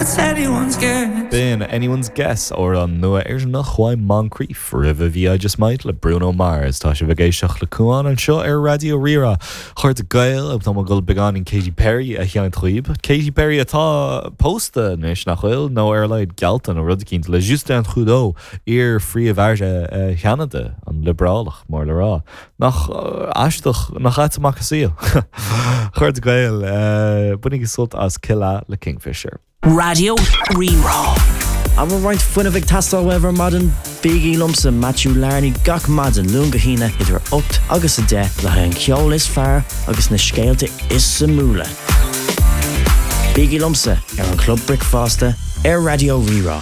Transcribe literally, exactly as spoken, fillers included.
It's anyone's guess. B'in Anyone's Guess amhrán nua Éireannach uaidh Moncrief roimhe bhí I Just Might le Bruno Mars tá sibh ag éisteacht le Cuan anseo ar Raidió Rí-Rá chairde Gael tá gul beagáinín Katy Perry a sheinnt daoibh. Katy Perry atá pósta anois nach bhfuil nó ar a laghad geallta nó rud éicint le Justin Trudeau iar-phríomh-aire Cheanada an liobrálach mór le rá. Nach aisteach nach ait amach an saol. Chairde Gael bainigí sult as Killa le Kingfisher. Raidió Rí-Rá. An bhfuil roinnt fuinnimh ag teastáil uaibh ar maidin bígí liomsa Matthew Larney gach maidin Luan go hAoine idir ocht agus a deich le haghaidh an ceol is fearr agus na scéalta is suimiúla. Bígí liomsa ar an Club Bricfeasta ar Raidió Rí-Rá.